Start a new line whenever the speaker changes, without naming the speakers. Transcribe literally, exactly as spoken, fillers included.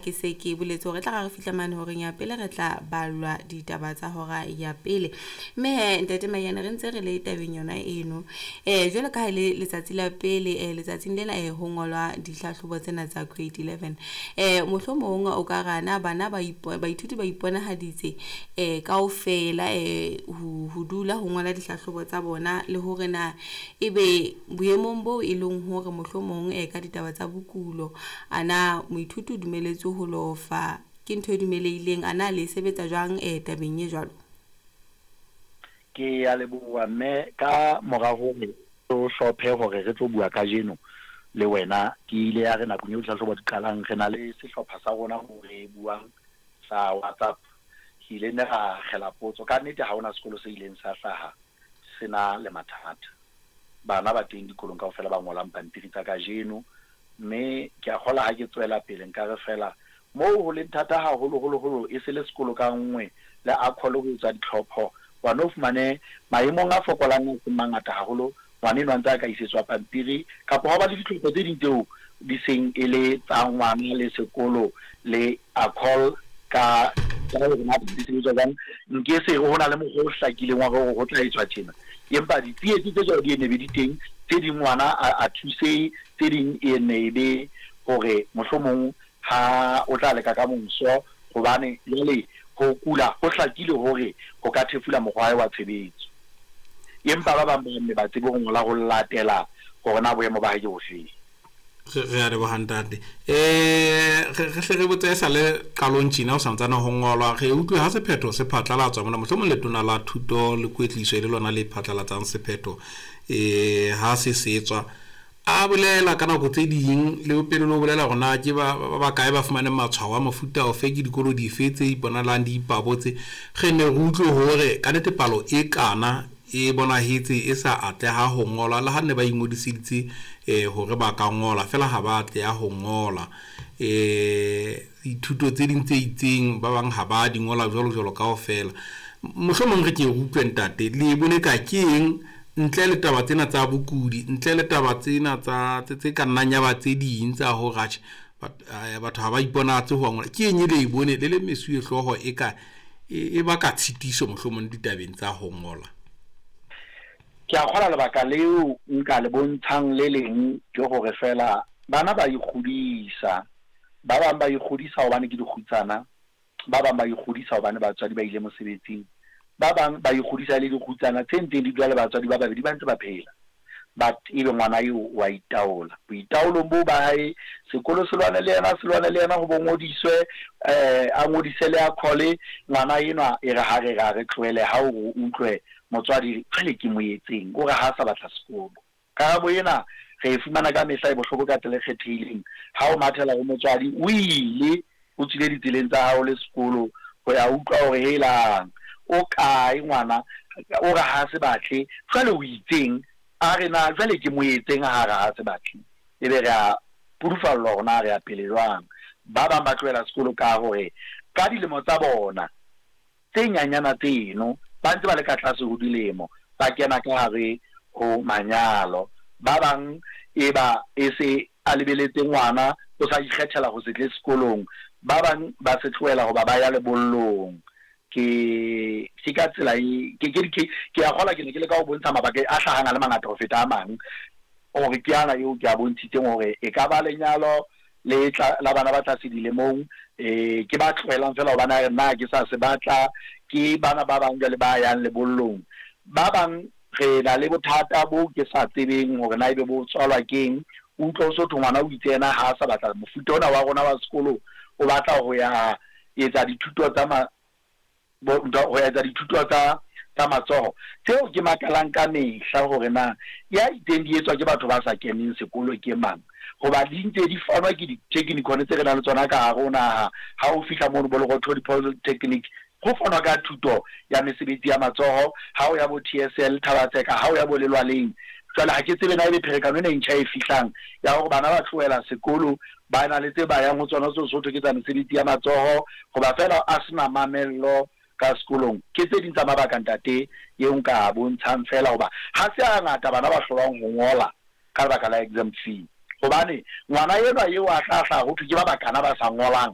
Ke se ke boletse hore tla re fihla mane horeng ya pele re tla ballwa ditaba tsa hora ya pele. Mme he ntate Maiyane, re ntse re le tabeng yona eno. Eh jwalo ka ha le letsatsi la pele, eh letsatsing lena eh ho ngolwa dihlahlobo tsena tsa grade eleven. Eh mohlomong o ka ra na bana ba baithuti ba iponahaditse eh kaofela eh ho ho dula ho ngola dihlahlobo tsa bona, le hore na ebe boemong bo e leng hore mohlomong eh ka ditaba tsa bokulo, ana moithuti o dumeletswe ho lofa, ke ntho e dumelehileng, ana le sebetsa jwang eh tabeng e jwalo?
Ke ya leboha mme. Ka mora hore o hlophe hore re tlo bua kajeno le wena, ke ile ya re nakong eo dihlahlobo di qalang, re na le sehlopha sa rona mo re buang sa WhatsApp. Ke ile ne ra kgela potso. Ka nnete ha hona sekolo se ileng sa hlaha se na le mathata. Bana ba teng dikolong kaofela ba ngolang pampiri tsa kajeno, mme ke a kgola ha ke tswela pele nka re fela moo ho leng thata haholo-holo-holo e se le sekolo ka nngwe le A C O L ho etsa ditlhopho. Wa no fumane maemong a fokolang a seng mangata haholo, ngwana enwa a ntse a ka isetswa pampiri, kapa hwa ba le ditlhopho tse ding tseo di seng e le tsa ngwana le sekolo le A C O L ka ka hore na di sebetswa jwang. Nke se re ho na le mokgwa o hlakileng wa hore ho tla etswa tjena, empa ditsietsi tse jwalo di ne be di teng. Tse ding ngwana a thusehe, tse ding e ne e be hore mohlomong ha o tla leka ka moso, hobane jwale ho kula ho hlakile hore ho ka thefula mokgwa wa hae wa tshebetso. Empa ba bang ba nne ba tsebe ho ngola ho latela hore na boemo ba hae ke bofeng.
Re a leboha, ntate. eh re hle re botse, e sa le qalong tjena o santsane ho ngolwa, re utlwe ha sephetho se phatlalatswa mona, mohlomong letona la thuto le kwetliso e le lona le phatlalatsang sephetho, eh ha se setswa, a bolela ka nako tse ding le pele le ho bolela hore na ke ba ba bakae ba fumaneng matshwao a mofuta ofe, ke dikolo dife tse iponalang di ipabotse. Re ne re utlwe hore ka nnete palo e kana e bonahetse e sa atleha ho ngola, le ha ne ba ingodiseditse eh hore ba ka ngola, fela ha ba atleha ho ngola. eh dithuto tse ding tse itseng ba bang ha ba di ngola, jwalo jwalo kaofela. Mohlomong re ke re utlwe, ntate, le bone ka ke eng, ntle le taba tsena tsa bokudi, ntle le taba tsena tsa tse ka nnang ya ba tse ding tsa hore atjhe, batho ha ba iponatse ho ngola, ke eng e le e bone le le mesuwe hlooho e ka e baka tshitiso mohlomong ditabeng tsa ho ngola?
Ke a kgola lebaka leo nka le bontshang le leng ke hore fela bana ba ikgodisa. Ba bang ba ikgodisa hobane ke dikgutsana, ba bang ba ikgodisa hobane batswadi ba ile mosebetsing, ba bang ba ikgodisa le dikgutsana tse ntseng di dula le batswadi ba babedi ba ntse ba phela, but ebe ngwana eo wa itaola. Boitaolong boo ba hae, sekolo se lwane le yena, se lwane le yena ho bo ngodiswe, eh a ngodise le A C O L. Ngwana enwa e re ha re ra re tlohele, ha o utlwe motswadi, jwale ke mo etseng, o re ha sa batla sekolo. Karabo ena re e fumana ka mehla, e bohloko ka tsela e kgethehileng. Ha o mathela ho motswadi, o ile o tswile ditseleng tsa hao le sekolo ho ya utlwa hore helang, o kae ngwana, o re ha se batle. Jwale o itseng, a re na jwale ke mo etseng ha re ha se batle? Ebe re a pudufallwa hore na re ya pele jwang. Ba bang ba tlohela sekolo ka hore ka dilemo tsa bona tse nyanyana tseno, ba ntse ba le ka tlase ho dilemo, ba kena ka hare ho manyalo. Ba bang e ba e se a lebeletse ngwana, o sa ikgethela ho se tle sekolong. Ba bang ba se tlohela hoba ba ya lebollong. Ke ke ka tsela e ke ke ke ke a kgola ke ne ke le ka ho bontsha mabaka a hlahang a le mangata ho feta a mang, hore ke ana eo ke a bontshitseng hore e ka ba lenyalo le tla la bana ba tlase dilemong, eh ke ba tlohelang fela hobane a re nna ke sa se batla, ke bana ba bang jwale ba yang lebollong. Ba bang re na le bothata bo ke sa tsebeng hore na ebe bo tswalwa keng. O utlwa o so thwe ngwana o itse yena ha a sa batla mofuta ona wa rona wa sekolo, o batla ho ya etsa dithuto tsa ma bo ho etsa dithuto tsa tsa matsoho, tseo ke makalang ka mehla hore na ya itseng di etswa ke batho ba sa keneng sekolo ke mang, hoba di ntse di fanwa ke di-technikon tse re nang le tsona ka hare ho naha. Ha o fihla mono bo Lerothodi Polytechnic, ho fanwa ka thuto ya mesebetsi ya matsoho. Ha o ya bo T S L Thaba-Tseka, ha o ya bo Lelwaleng. Jwale ha ke tsebe na ebe pherekano ena e ntjha e fihlang ya hore bana ba tlohela sekolo, ba na le tse ba yang ho tsona tseo so thwe ke tsa mesebetsi ya matsoho, hoba fela a sena mamello ka sekolong. Ke tse ding tsa mabaka, ntate, eo nka bontshang fela hoba ha se a ngata bana ba hlolwang ho ngola ka lebaka la exam fee, hobane ngwana enwa eo a tla hlaha ho thwe ke ba bakana ba sa ngolang.